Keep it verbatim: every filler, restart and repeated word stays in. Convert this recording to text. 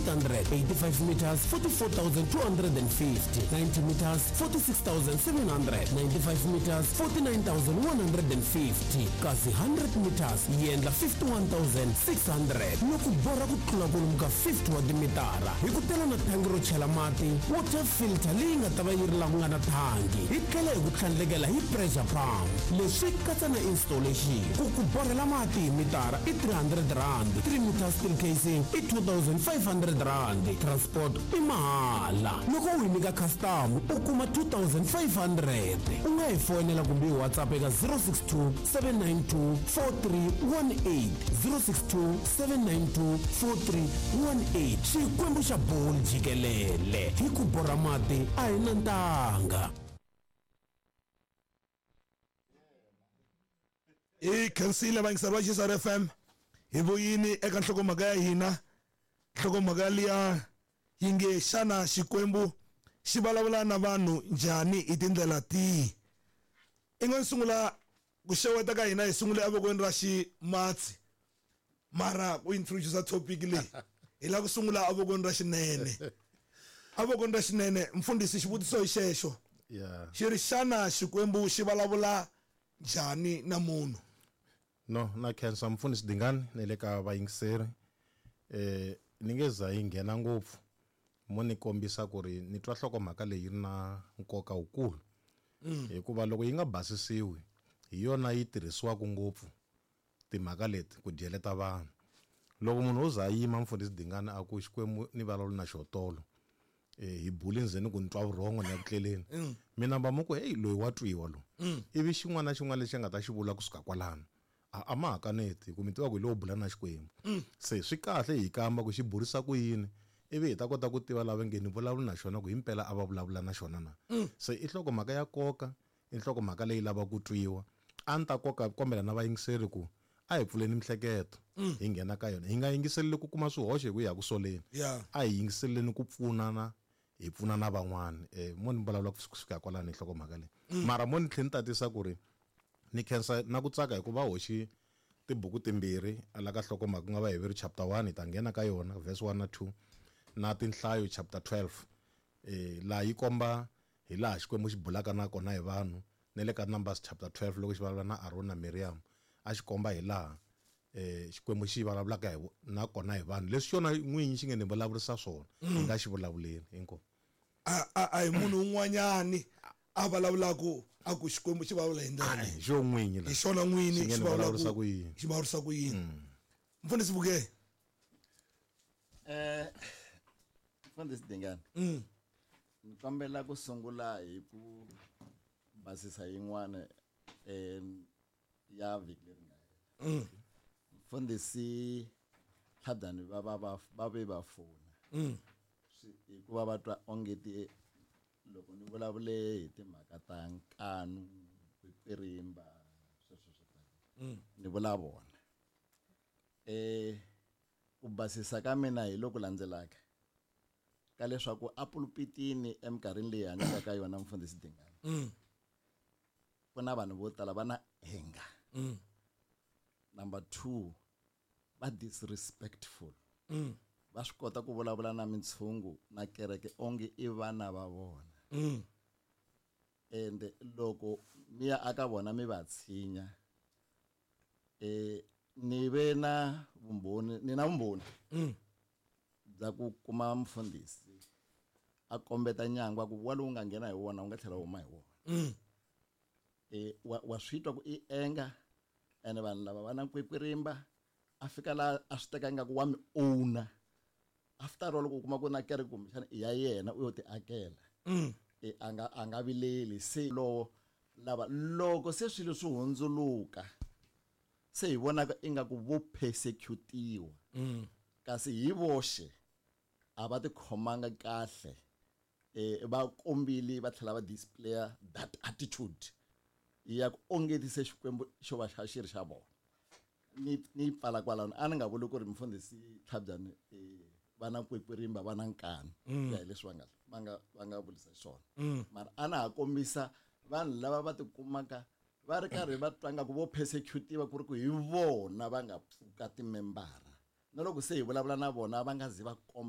eight hundred, eighty-five meters forty-four thousand two hundred and fifty, ninety meters forty-six thousand seven hundred, ninety-five meters forty-nine thousand one hundred and fifty, kasi hundred meters yi endla fifty-one thousand six hundred. Loko borha ku tlula kwalomu ka fifty wa timitara hi ku tela na thangi ro chela mati, water filter leyi nga ta va yi ri laha ku nga na thangi, hi tlhela hi ku tlhandlekela hi pressure pump. Leswi katsa na installation. Ku ku borhela mati hi mitara i three hundred rand, three meters steel casing i two thousand five hundred rand, transport i mahala. Loko u hi nyika custom u kuma two thousand five hundred. U nga hi foyinela kumbe hi WhatsApp eka zero six two seven nine two four three one eight, zero six two seven nine two four three one eight. Xikwembu xa bolo jikelele, hi ku borha mati a hi na ntanga. Hi khensile vayingiseri va X R F M, hi vuyini eka nhlokomhaka ya hina. Nhlokomhaka liya yi nge xana Xikwembu xi vulavula na vanhu njhani hi tindlela tihi? I nga sungula ku xeweta ka hina hi sungule evokweni ra ximatsi, mara ku introduce topic leyi hi lava ku sungula evokweni ra xinene. Evokweni ra xinene, mfundhisi, xivutiso hi xexo. Yeah. Xi ri xana Xikwembu xi vulavula njhani na munhu? No, na khensa mfundhisi Dingani na le ka vayingiseri. Eh, ni nge za yi nghena ngopfu mo ni kombisa ku ri ni twa nhlokomhaka leyi ri na nkoka wukulu. Mm. Hikuva loko yi nga basisiwi hi yona yi tirhisiwaka ngopfu timhaka leti ku dyeleta vanhu. Loko munhu o za yima mfundhisi Dingani a ku Xikwembu ni vulavula na xotolo, eh, hi buli ndzeni ku ni twa vurhongo ni ya ku tleleni. Mm. Mina va mu ku, hey, loyi wa twiwa loyi. Mm. Ivi xin'wana na xin'wana lexi a nga ta xi vula kusuka kwalano, a, a ma ha kaneti, hi ku mi tiva ku hi lowo bula na Xikwembu. Mm. Se swi kahle hi kamba ku xi burisa ku yini, ivi hi ta kota ku tiva lava nge ni vulavula na xona ku himpela a va vulavula na xona na. Mm. Se i nhlokomhaka ya nkoka, i nhlokomhaka leyi lavaka ku twiwa. A ni ta koka kombela na vayingiseri ku a hi pfuleni mihleketo, Mm. hi nghena ka yona. Hi nga yingiseleli ku kuma swihoxo hi ku ya ku soleni. Yeah. A hi yingiseleni ku pfunana, hi pfuna na van'wana. Eh, mo ni vulavula ku fika kwalano hi nhlokomhaka leyi. Mm. Mara mo ni tlhela ni tatisa ku ri ni khensa na ku tsaka hikuva hoxi tibuku timbirhi ala ka nhlokomhaka, ku nga va Heveru chapter one, hi ta nghena ka yona verse one na two, na Tinhlayo chapter twelve. Eh, laha yi komba hi laha Xikwembu xi bulaka na kona hi vanhu, na le ka Numbers chapter twelve loko xi vulavula na Aaron na Miriam, a xi komba hi laha, eh, Xikwembu xi vulavulaka hi vo-, na kona hi vanhu. Leswi xona n'winyi xi nge ni vulavurisa swona, Mm. hi nga xi vulavuleni hinkwavo. A, a, a hi munhu un'wanyani a vulavulaka a ku Xikwembu xi vulavula hi ndlela A, leyi. hi xona n'winyi la. Hi xona n'winyi Xi nge xi ni vulavulaka vulavurisa ku yini. xi vulavurisa ku yini. Mm. Mfundhisi Vuke. Eh, Mfundhisi Dingani. Mm. Ni kombela ku sungula hi ku basisa yin'wana, eh, ya vhiki leri nga hela. Mm. Mfundhisi Tlhabyani va, va, va, va ve va fona. Mm. Swi, hikuva va twa onge ti loko ni vulavule hi timhaka ta nkanu, kwirimba, sweswo swo tala. Mm. Ni vula vona. Eh, ku basisa ka mina hi loku landzelaka ka leswaku a pulpitini eminkarhini leyi hanyaka ka yona mfundhisi Dingani. Mm. Ku na vanhu vo tala va na anger. Mm. Number two, va disrespectful. Mm. Va swi kota ku vulavula na mintshungu na kereke onge i vana va vona. Mm. Ende loko mi ya aka vona mi va tshinya, eh, ni ve na vumbhoni, ni na vumbhoni Mm. bya ku kuma mfundhisi a kombeta nyangwa ku wa lowu nga nghena hi wona wu nga tlhela wu huma hi wona. Mm. Eh, wa, wa swi twa ku i anger, ene vanhu lava va na nkwinkwirimba, a fika laha a swi teka ingaku wa mi owner. After all, loko u kuma ku na kereke kumbexana i ya yena u yo ti akela. Mm. E, a nga, a nga vileli. Se lowo lava loko se swilo swi hundzuluka, se hi vonaka ingaku vo persecutiwa. Mm. Kasi hi voxe a va tikhomanga kahle. Eh, va kombile va tlhela va displaya that attitude ya ku ongetise Xikwembu xo va xa xi ri xa vona. Ni, ni pfala kwalano, a ni nga vuli ku ri mfundhisi Tlhabyani, eh, va na nkwinkwirimba, va na nkani, Mm. ya hi leswi va nga, va nga, va nga vulisa xiswona. Mm. Mara a na ha kombisa vanhu lava va tikumaka va ri karhi va twa nga ku vo persecutiwa ku ri ku hi vona va nga pfuka timembara. Na loko se hi vulavula na vona va nga zi va komba